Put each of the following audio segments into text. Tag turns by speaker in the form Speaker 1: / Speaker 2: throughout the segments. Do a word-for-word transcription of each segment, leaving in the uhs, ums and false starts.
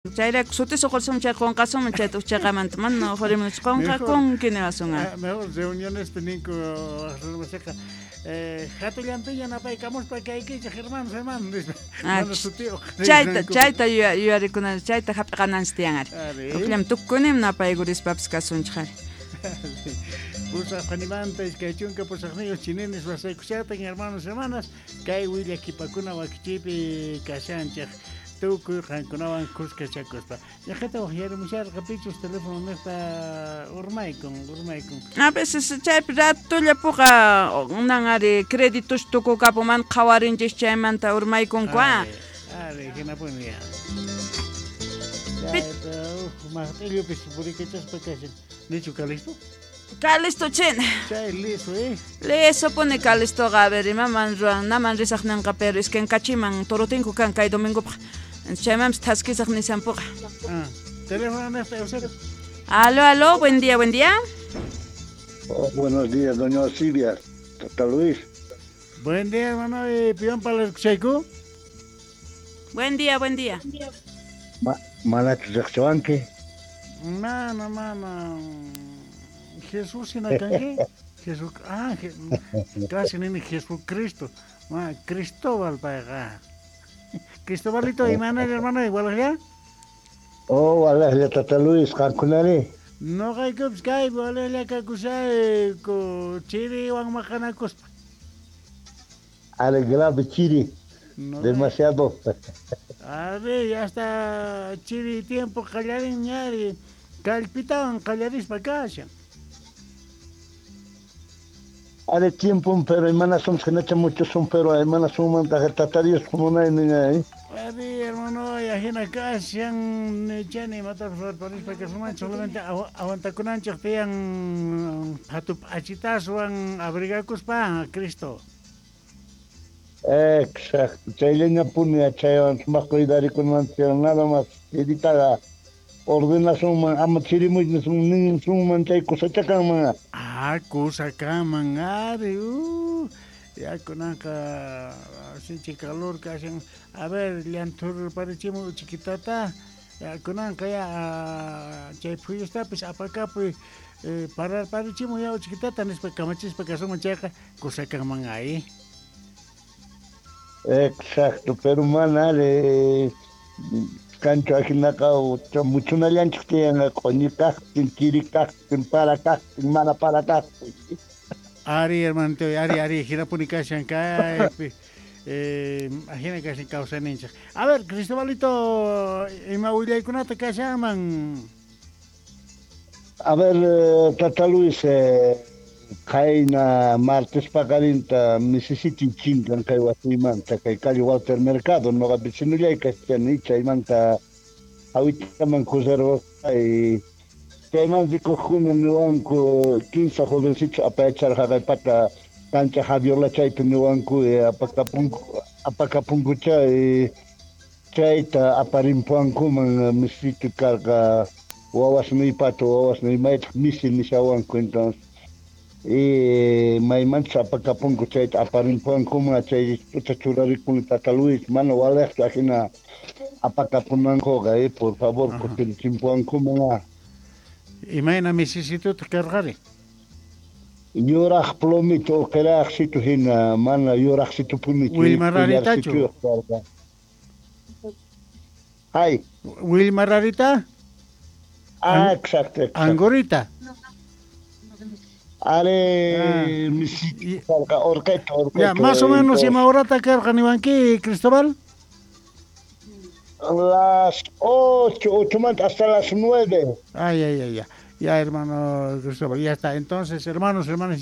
Speaker 1: Chayrayku sutis uqursun chay qunqasunman chayta uqchaqamanta mana uqurimunchu qunqakunki niwasun.
Speaker 2: Mejor reunionespi ninku waqrunmasiqa hatullanpiña napaykamuspa kaykichik hermanos hermanos nispa mana sutiyuq.
Speaker 1: Chayta chayta yuyarikunanchik chayta hap'iqananchik tiyan ari. Uqllam tukunim napaykurispapas kasunchik ari.
Speaker 2: Pusaq qanimanta iskay chunka pusaqniyuq chininis wasaykushatan hermanos hermanas kay willakipakuna wakichiypi kashanchik tukuy qankunawan kuskachakuspa. Ñaqata waqyarimusharqa pichus teléfono niqta urmaykun urmaykun.
Speaker 1: A veces chaypi ratulla puqa nan ari créditos tukukapuman qhawarinchik chaymanta urmaykunku a.
Speaker 2: Ari hinapuni ya. Chayta uj maqt'illupis purikachaspa kashan. Nichu Calisto?
Speaker 1: Calisto chin.
Speaker 2: Chay liso eh.
Speaker 1: Liso pone Calistoqa a ver imaman ruwan naman risaq ninqa pero iskankachiman torotinku kan kay domingopaq. Chaymanpis thaskisaq nisanpuqa.
Speaker 2: Ah, teléfono niqta Eusebio.
Speaker 1: Aló, aló, buen día, buen día.
Speaker 3: Oh, buenos días, doña Silvia. Tata Luis.
Speaker 2: Buen día, hermano. Pion para el
Speaker 1: Buen día, buen día.
Speaker 3: Ma, manachu riqsiwanki?
Speaker 2: Mana, mana. Jesús hina kanki? Jesús, ah, je, casi nini Jesucristo. Ma, Cristóbal payqa. Cristobalito, imana hermano, igual ya?
Speaker 3: Oh, walajlla Tata Luis, qankunari?
Speaker 2: Noqaykupis kaypi walajlla kakushayku chiriwan maqanakuspa.
Speaker 3: Ale grave chiri.
Speaker 2: No,
Speaker 3: demasiado.
Speaker 2: A ver, ya está chiri tiempo qallarin ñari kallpitawan qallarispa kashan.
Speaker 3: Ale tiempo, pero hermanas son que muchos son, pero hermanas son Tata Dios como nadie ni nadie.
Speaker 2: A ver, hermano, ajina kashan chani matapas parispa kasuman solamente aguantakunanchik tiyan hatup achitaswan abrigakuspa Cristo.
Speaker 3: Exacto, chayllañapuni chaywan sumaq cuidarikunanchik nada más chiritaqa ordenasunman ama chirimuy nisunman chay kusachakanman.
Speaker 2: Ah, kusakanman ari, uh, ya kunanqa sinchi calor kashan. A ver, llanthurparichimuy uchikitata, ya kunanqa ya chay phuyustapis apakapuy eh, pararparichimuy ya uchikitata nispa kamachispa kasunman chayqa kusakanman ahí.
Speaker 3: Exacto, pero mana ari kanchu ajinaqa muchunallanchik tiyan q'uñi kaqtin, chiri kaqtin, para kaqtin, mana para kaqtin.
Speaker 2: Ari, hermanito, ari, ari, hinapuni kashan kaypi. Eh, ajina kashan kawsayninchik. A ver, Cristobalito, ima willaykunata kashanman.
Speaker 3: A ver, Tata Luis, eh, qayna martes paqarinta Mississippi chinkan kay wasiymanta kay calle Walter Mercado noqa vecinollay kashani chaymanta awitaman cruzarqay chayman rikuqkuna niwanku quince jovencitos apayacharqa pata cancha Javiola chaypi niwanku apakapunku apakapunkucha chayta aparimpuankuman Mississippi karqa wawasniypata wawasniymaytaq misi nishawanku entonces y maymantas apakapunku chayta aparimpuankuman chay tuta churarikuni Tata Luis mana walejchu ajina apakapunankuqa eh, por favor kutirichimpuankuman.
Speaker 2: Imayna misisitutaq karqari?
Speaker 3: Yuraq plomito uqiraqsitu hina mana yuraqsitupunichu.
Speaker 2: Wilmararitachu?
Speaker 3: Ay.
Speaker 2: Wilmararita?
Speaker 3: Ah, exacto, exacto.
Speaker 2: Angorita.
Speaker 3: Are, ah. Orqueto, orqueto.
Speaker 2: Ya, más o menos, ima horata karqa niwanki, Cristóbal?
Speaker 3: Las ocho, ocho hasta las nueve.
Speaker 2: Ay, ay, ay, ya. Ya, hermano Cristóbal, ya está. Entonces, hermanos, hermanas,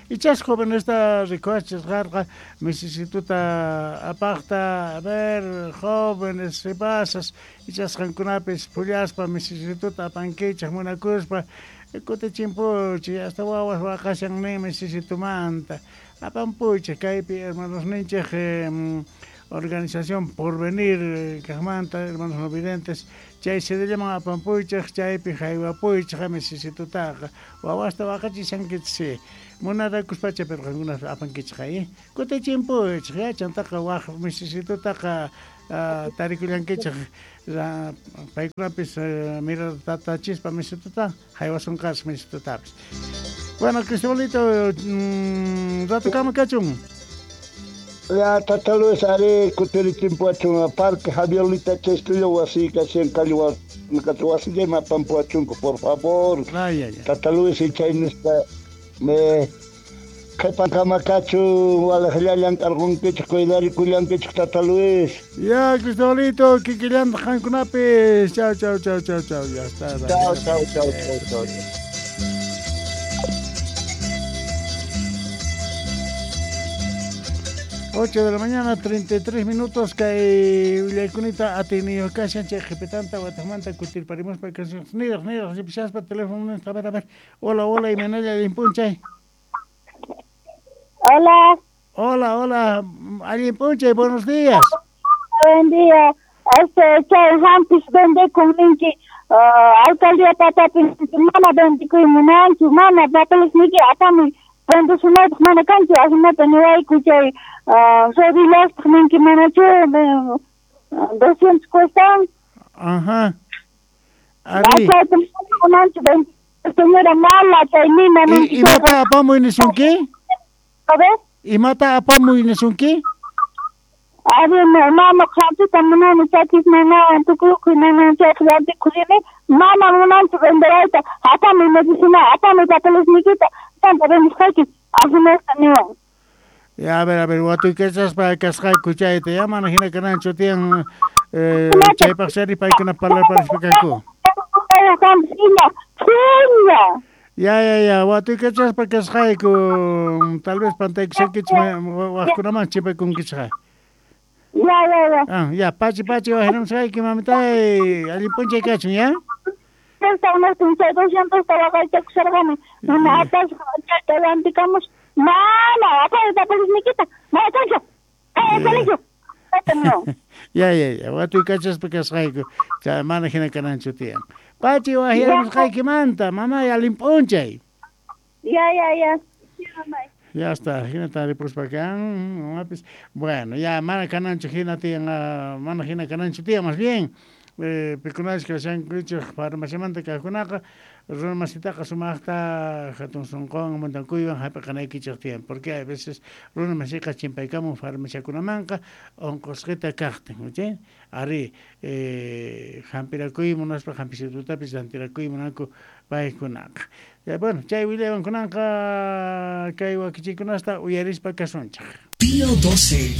Speaker 2: ichas joven esta rikuachis qarqa misisituta apaqta, a ver, jóvenes, sipasas, ichas qankunapis phullaspa misisituta apankichik munakuspa, kutichimpuchik, hasta wawas waqashan nin misisitumanta. Apampuychik kaypi, hermanos ninchik, eh, organización Porvenir kaqmanta, hermanos no videntes, chay sedellaman apampuychik, chaypi haywapuychik misisitutaqa wawasta waqachishankichik munarakuspacha pero qankunas apankichik eh kutichimpuychik ya chantaqa waq misisitutaqa Tarikullankichej paykunapis miratata chispa misituta haywasunqas misitutapis. Bueno, Cristobalito, rato kama kachun.
Speaker 3: Ya, Tata Luis, are kutirichimpuachun Parque Javier Litacha estudio wasi kashan kalwa wasi pampuachunku, por favor.
Speaker 2: Ay, ay, ay.
Speaker 3: Tata Luis chay nispa me qhipankama kachun walaqllallan karqunkichik cuidarikулlankichik Tata Luis.
Speaker 2: Ya, Cristobalito, kikillantaq qankunapis. Chau, chau, chau, chau, chau. Ya está.
Speaker 3: Chau, chau, chau, chau, chau.
Speaker 2: ocho de la mañana, treinta y tres minutos, kay willaykunita atiniyo kashan chay qhipitanta wataqmanta kutirparimuspa niraq niraq ripishaspa teléfono a ver a ver. Hola, hola, imanalla allinpunchay.
Speaker 4: Hola.
Speaker 2: Hola, hola, allinpunchay, buenos días.
Speaker 4: Buen día. Este chay hampis vendekun ninki alcaldía patapi mana vendikuy munanchu, mana papeles niki apamuy vendesunaypaq mana kanchu, ajinata niwayku chay rodillastaj ninki manachu doscientos cuestan.
Speaker 2: Ajá. Ari.
Speaker 4: Munanchu señora mala chay nina ninki.
Speaker 2: Imata apamuy nisunki?
Speaker 4: A ver.
Speaker 2: Imata apamuy nisunki?
Speaker 4: Ari mama hampita munani chakis nanawan tukuy nanawan chayqa rantikurini mana munanchu venderayta apamuy medicina apamuy papeles nikita tanta vendisqayki ajinasta niwan.
Speaker 2: Ya, a ver, a ver, watuykachaspa kasqayku chayta ya mana hina kananchu tiyan chaypaq chari paykuna parlarparispa kanku. Ya, ya, ya, watuykachaspa kasqayku tal vez pantaykushankichik waqkunaman chipaykunkichikqa.
Speaker 4: Ya, ya, ya.
Speaker 2: Ah, ya, pachi, pachi, wajinamusqayki mamitay, allinpunchay kachun, ya?
Speaker 4: doscientos waqaychakusharqani mana apasqa chayta rantikamus mana apamuy papeles nikita mana kanchu colegio.
Speaker 2: Ya, ya, ya, watuykachaspa kasqayku chay mana hina kananchu tiyan. Pachi wajiramusqaykimanta, mamay, allinp'unchay.
Speaker 4: Ya, ya, ya.
Speaker 2: Ya está, hinata ripuspa kan, mamapis. Bueno, ya mana kananchu hina tiyan, mana hina kananchu tiyan, más bien. Eh, pikunachik kashankuchik farmaciamanta kaqkunaqa runa masitaqa sumaqta hatun sunqunwan muntankuywan hap'iqanaykichik tiyan, porque a veces runa masiqa chimpaykamun farmaciakunamanqa unqusqita kaqtin, ¿sí? Ari eh, hampirakuy munaspa hampisitutapis rantirakuy munanku paykunaqa. Ya, bueno, chay willaywankunanqa kay wakichikunasta uyarispa kasunchik.
Speaker 5: Pío doce.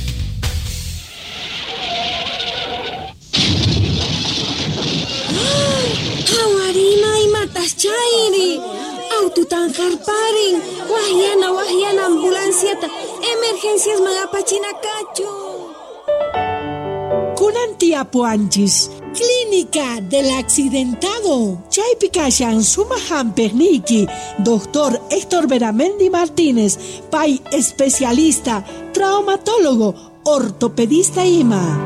Speaker 6: Hawarima imatas chayri aututan harparin wahyana wahyana ambulanciata emergencias magapachinakachu.
Speaker 7: Kunan tiapuanchis Clínica del Accidentado. Chaypi kashan suma hamperniki, doctor Héctor Beramendi Martínez, pay especialista, traumatólogo, ortopedista ima.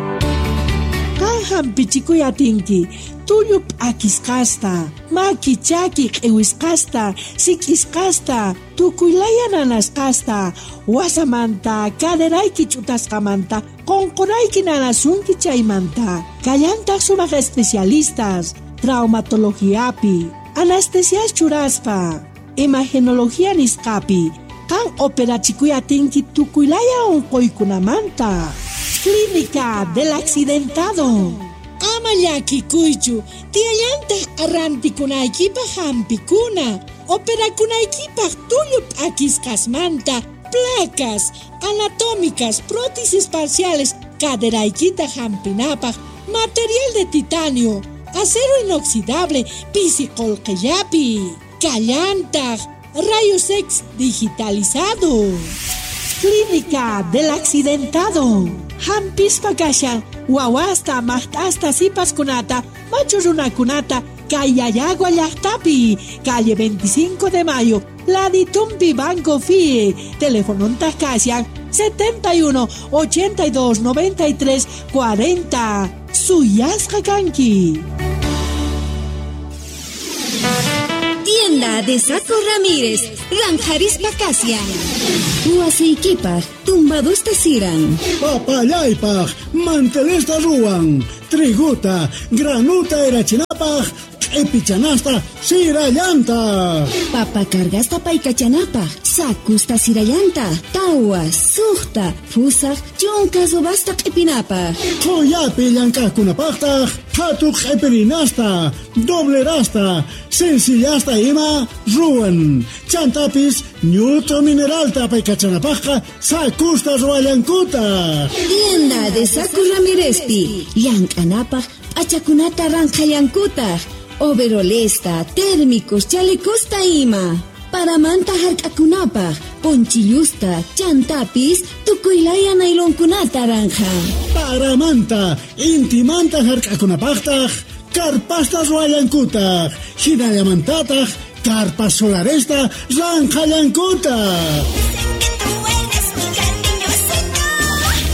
Speaker 7: Kan hampichikuy atinki, tullu p'akisqasta, maki chaki q'iwisqasta, sik'isqasta, tukuylaya nanasqasta, wasamanta, caderayki ch'utasqamanta, qunqurayki nanasunki chaymanta. Kallantaq sumaq especialistas, traumatologiapi, anestesias churaspa, imagenología nisqapi, kan operachikuy atinki tukuylaya unquykunamanta. Clínica del Accidentado. Ama llakikuychu, tiyallantaq arrantikunaykipaq hampikuna, operakunaykipaq tullu p'akisqasmanta, placas anatómicas, prótesis parciales, caderaykita hampinapaq, material de titanio, acero inoxidable, pisi qullqillapi, kallantaq, rayos X digitalizado. Clínica del Accidentado. Hampispa kashan, wawasta, maqt'asta, sipaskunata, machu runakunata, Kayayagua llaqtapi, calle veinticinco de Mayo, Laditumpi Banco F I E, teléfono kashan setenta y uno, ochenta y dos, noventa y tres, cuarenta. Suyasqa kanki.
Speaker 6: Tienda Tienda de Saco Ramírez, Ranjarispa Kasian. Wasiykipaj, tumbadusta siran.
Speaker 5: Papallaypaj, mantelesta ruwan. Triguta, granuta erachinapaj, q'ipichanasta sirallanta.
Speaker 6: Papa cargasta paykachanapaj, sakusta sirallanta, tawa, suqta, fusaj, chunka subasta q'ipinapaj.
Speaker 5: Qhuyapi llank'aqkunapaqtaq, phatu q'ipirinasta, doblerasta, sencillasta ima ruwan. Chantapis ñut'u mineralta paykachanapajqa sakusta ruwallankutaq.
Speaker 6: Tienda de Saco Ramírezpi, llank'anapaj p'achakunata ranqhallankutaq. Overolesta, térmicos, chalecosta ima. Paramanta hark'akunapaj, ponchillusta, chantapis, tukuylaya nailonkunata ranja.
Speaker 5: Paramanta, intimanta hark'akunapajtaj, karpasta ruwallankutaq, hinallamantataq, karpas solaresta ranqhallankutaq.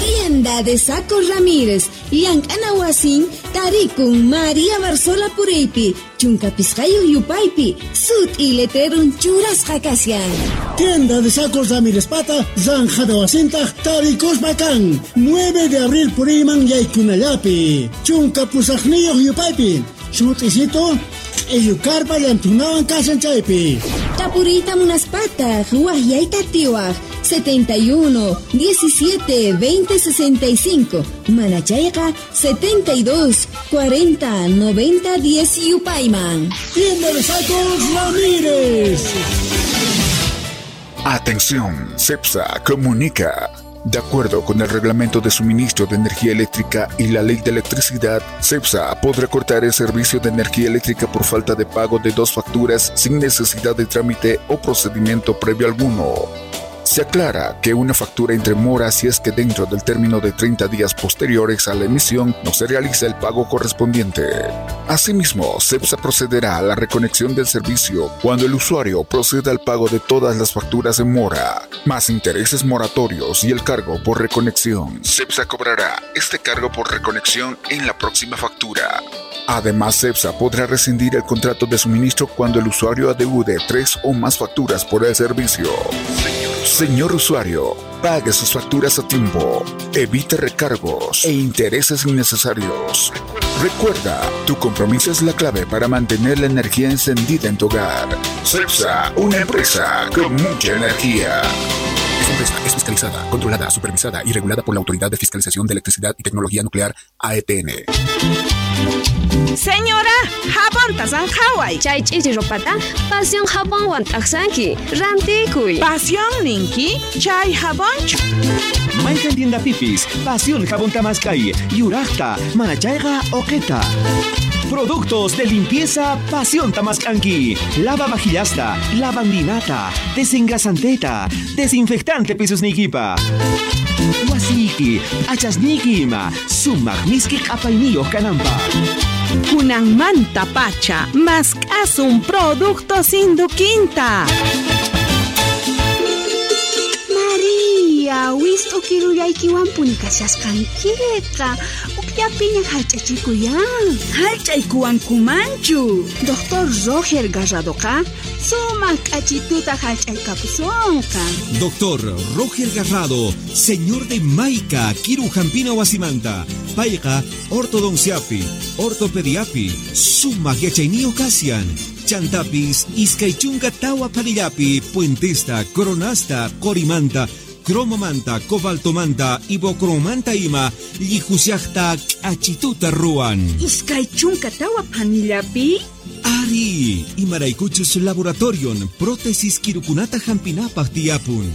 Speaker 6: Tienda de Saco Ramírez, llank'ana wasin, tarikun María Barzola Puriypi, chunka pisqayuq yupaypi, sut'i letrerun churasqa kashan.
Speaker 5: Tienda de Sacos Ramírez pata, zanjada wasintaj, tarikuspa kan, nueve de abril puriyman yaykunallapi, chunka pusaqniyuq yupaypi, sut'isito, q'illukarpa llantunawan kashan chaypi.
Speaker 6: Tapuriyta munaspataq, waqyayta atiwaq, setenta y uno, diecisiete, veinte, sesenta y cinco, Manachayqa, setenta y dos, cuarenta, noventa, diez yupayman.
Speaker 5: Tienda de Sacos Ramírez.
Speaker 8: Atención, CEPSA comunica. De acuerdo con el Reglamento de Suministro de Energía Eléctrica y la Ley de Electricidad, CEPSA podrá cortar el servicio de energía eléctrica por falta de pago de dos facturas sin necesidad de trámite o procedimiento previo alguno. Se aclara que una factura entre mora si es que dentro del término de treinta días posteriores a la emisión no se realiza el pago correspondiente. Asimismo, CEPSA procederá a la reconexión del servicio cuando el usuario proceda al pago de todas las facturas en mora, más intereses moratorios y el cargo por reconexión. CEPSA cobrará este cargo por reconexión en la próxima factura. Además, CEPSA podrá rescindir el contrato de suministro cuando el usuario adeude tres o más facturas por el servicio. Señor usuario, pague sus facturas a tiempo, evite recargos e intereses innecesarios. Recuerda, tu compromiso es la clave para mantener la energía encendida en tu hogar. CEPSA, una empresa con mucha energía. Esta empresa es fiscalizada, controlada, supervisada y regulada por la Autoridad de Fiscalización de Electricidad y Tecnología Nuclear, A E T N.
Speaker 1: Señora, jabonta sanjaway.
Speaker 9: Chay ch'ichi ropata, pasión jabonwan t'aqsanki, rantikuy.
Speaker 1: Pasión ninki, chay jabonchu.
Speaker 10: Mayqan tienda pipis, pasión jabón tamaskay, yuraqta, manachayqa oqeta. Productos de limpieza Pasión Tamascanqui. Lava vajillasta, lavandinata, desengrasanteta, desinfectante pisusnikipa. Wasiki, achasniki ima, sumaq miski q'apayniyuq kananpaq.
Speaker 1: Kunanmanta pacha, mask'asun productos Induquinta.
Speaker 11: María, wist'u kirullaykiwanpuni kashasqankiqa. Ukllapiña hallch'achikuyan.
Speaker 1: Hallch'aykuwankumanchu.
Speaker 11: Doctor Roger Garradoqa sumaq k'achituta hallch'aykapusunqa.
Speaker 10: Doctor Roger Garrado, señor de Maica, Kiru Jampina Wasimanta, Payqa, ortodonciapi, ortopediapi, sumaq yachayniyuq kasian. Chantapis, iskay chunka tawa panillapi, puentesta, coronasta, corimanta, cromomanta, cobaltomanta, ibocromanta ima, llijusiaqta k'achituta ruwan.
Speaker 1: Iskay chunka tawa panillapi?
Speaker 10: Ari, imaraykuchus laboratorion, prótesis kirukunata hampinapaq tiyapun.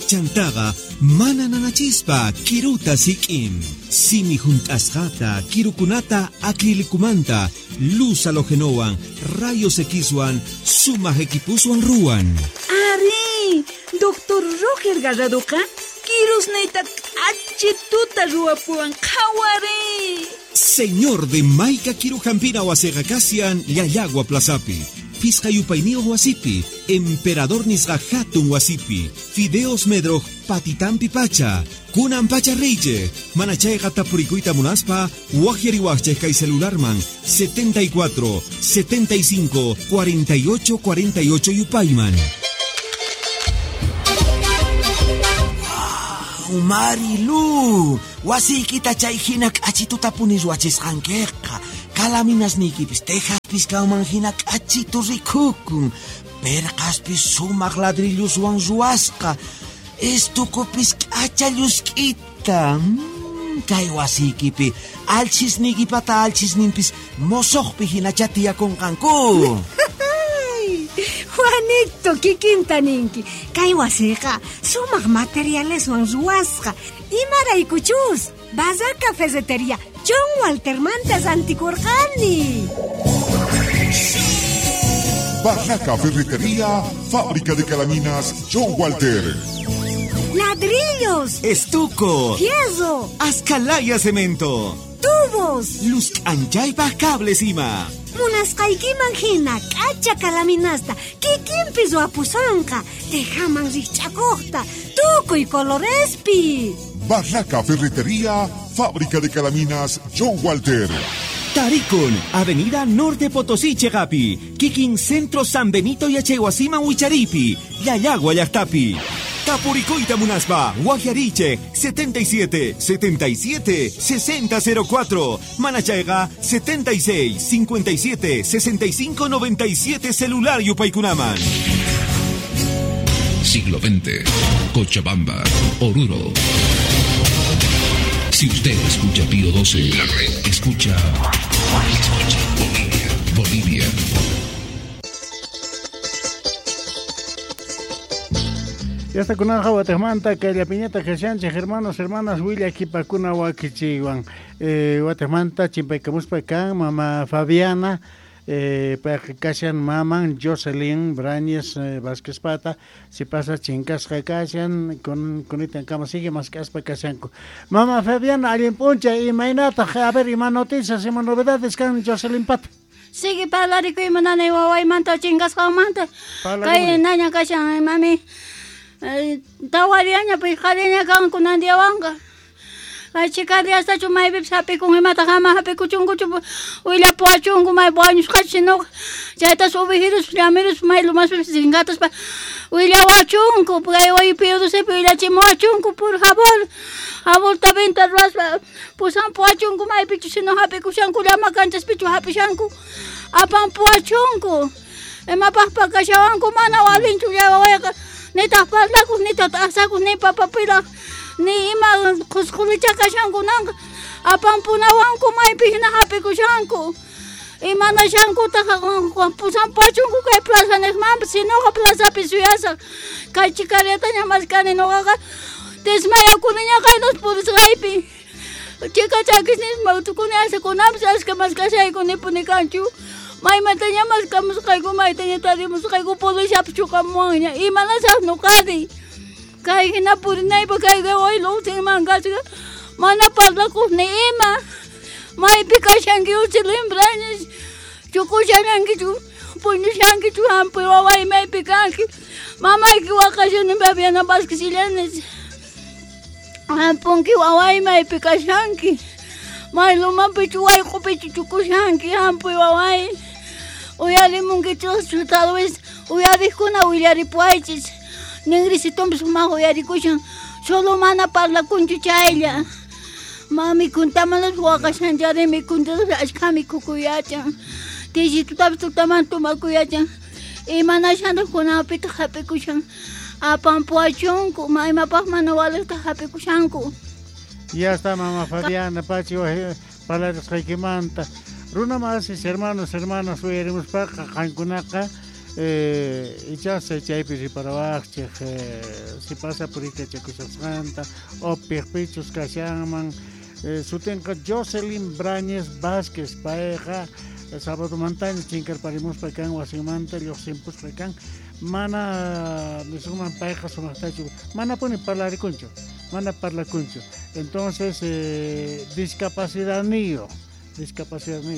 Speaker 10: Chantaqa mana nanachispa kiruta sik'in. Simi junt'asqata, kirukunata acrilicumanta, luz halogenowan, rayos Xwan, sumaq equipuswan ruwan.
Speaker 1: Ari, Doctor Roger Garradoqa kirusniyta k'achituta ruwapuwan qhawari.
Speaker 10: Señor de Maica Kirujampina wasiqa kasian Llallagua Plazapi. Phisqa yupayniyuq wasipi, Emperador nisqa hatun wasipi, Fideos Medroj patitampi pacha, kunan pacha riychej, mana chayqa tapurikuyta munaspa, waqyariwaqchej kay celularman setenta y cuatro, setenta y cinco, cuarenta y ocho, cuarenta y ocho yupayman.
Speaker 12: Wow, Marilu, wasiykita chay hina k'achituta puni ruwachisqankiqa. Kalaminasniykipis tejaspis kanman hina k'achitu rikukun. Perqaspis sumaq ladrilluswan ruwasqa. Estukupis k'acha llusk'ita. Mm, kay wasiykipi alchisniykipata alchisninpis mosoqpi hinacha tiyakunqanku.
Speaker 13: Juanito, kikinta ninki. Kay wasiqa sumaq materialeswan ruwasqa. Imaraykuchus Barraca Ferretería John Waltermanta rantikurqani.
Speaker 8: Barraca Ferretería, fábrica de calaminas John Walter.
Speaker 13: Ladrillos,
Speaker 10: estuco,
Speaker 13: fierro,
Speaker 10: ascalaya cemento,
Speaker 13: tubos,
Speaker 10: luz anchaypaj cables ima.
Speaker 13: Munasqaykiman hina k'acha kalaminasta kikinpi ruwapusunqa, tejaman rikch'akuqta, tukuy colorespi.
Speaker 8: Barraca Ferretería, fábrica de calaminas John Walter.
Speaker 10: Tarikun, Avenida Norte Potosí, Chegapi, Kikin Centro San Benito y Achehuasima Huicharipi, Yayagua Llaqtapi. Tapuricoita Munaspa, Guajariche, setenta y siete, setenta y siete, sesenta cero cuatro, Manachaiga, setenta y seis, cincuenta y siete, sesenta y cinco, noventa y siete, celular Yupaykunaman.
Speaker 14: Siglo veinte, Cochabamba, Oruro. Si usted escucha Pío doce, la red escucha, escucha Bolivia, Bolivia.
Speaker 2: Ya está con Guatemala, que la piñata que sean hermanos, hermanas, Willa, Kipakuna, Wakichiwan, eh, Guatemala, Chimpaycamuspa, kan, mamá Fabiana, eh, Kashan, maman, Jocelyn, Brañez, eh, Vázquez Pata, si pasa chincasca kashan, con con cama sigue más caspa kashanku. Mamá Fabiana, alguien puncha, y mainata, a ver, y más noticias, y más novedades, kan Jocelyn Pata.
Speaker 15: Sigue parlarikuy mananay wawaymanta chinkasqanmanta. Kay naña kashan, mami. Tawariaña pishqariña kanku nandiawanqa. Kay chikariastachu maypipis hap'ikun imata hama hap'ikuchunkuchu willapuwachunku may wañusqachu sinoqa chaytas ubijiruspa llamiruspa may lumaspipis chinkataspa willawachunku kay waypi willachimuwachunku por favor aborta venta ruwaspa pusampuwachunku maypichu sino hap'ikushanku llama kanchaspichu hap'ishanku apampuwachunku imapaqpa kashawanku mana walinchu llawawayqa nitaq parlakuq nitaq t'aqsakuq ni papapiraq ni ima qusqulicha kashankunanqa apampunawanku maypi hina hap'ikushanku imanashankutaq pusampuwachunku kay plaza niqmanpas sinoqa plazapi suyasaq kay chikariataña maskani nuqaqa desmayakuniña kaynos purisqaypi chika chakisnispa tukuni asakunanpas ashka maskashayku nipuni kanchu maymantaña maskamusqayku maytaña tarimusqayku policiapas chuqamuwanña imanasaq nuqari kay hina purinaypa kay waway luqsinman kasqa mana parlakuq ni ima maypi kashanki Jocelyn Brañez chukushanankichu puñushankichu hampuy waway maypi kanki mamayki waqashani Fabiana Vázquez Illanes hampunki waway maypi kashanki may lumapichu wayq'upichu chukushanki hampuy waway uyarimunkichuschu tal vez uyariqkuna willaripuwaychis ningrisitunpis sumaq uyarikushan solo mana parlakunchu chaylla mami kuntamanapis waqashanchari mikuntapas ashkha mikhukuyachan tillitutapis tutaman tumakuyachan imanashantaq kunanpitaq hap'ikushan apampuwachunku imapaq mana waliqtaq hap'ikushanku.
Speaker 2: Ya está mamá Fabiana Pachi parlarisqaykimanta runa masis hermanos hermanas uyarimuspaqa qankunaqa eh, ichas chaypi riparawaqchik eh, si pasa purikachakushasqanta o piqpichus kashanman eh, sutinqa Jocelyn Brañez Vázquez payqa sabadomantaña chinkarparimuspa kan wasinmanta lluqsinpuspa kan mana nisunman payqa sumaqtachu manapuni parlarikunchu mana parlakunchu entonces eh, discapacidadniyo discapacidadniyo